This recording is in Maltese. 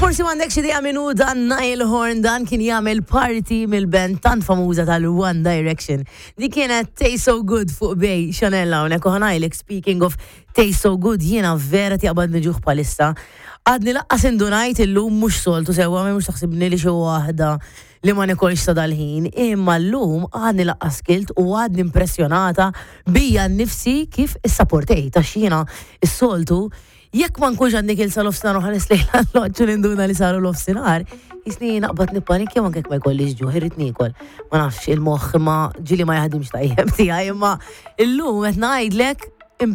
Forsi m'għandekx idea min hu dan Niall Horn, dan kien jagħmel parti mill-band tant famuża tal-One Direction. Di kienet Taste So Good fuq Bay Chanel hawnhekk u ħanajlek speaking of Taste So Good jiena vera tiqbadni ġuħ palissa. Għadni laqqas indunajt illum mhux soltu sewwa mhux taħsibni li xi waħda li ma nikolx sa dal-ħin, imma llum għadni laqqas kilt u għadni impressjonata bija nnifsi kif issaportejt għax jiena s-soltu Jekk ma nkunx għadni kilt sa nofsinhar u nħares lejn l-alloġġ u ninduna li saru nofsinhar, jisni naqbad nippanikja anke jekk ma jkollix ġuħ, irrid niekol. Ma nafx il-moħħ imma ġieli ma jaħdimx tajjeb tiegħi imma illum qed ngħidlek.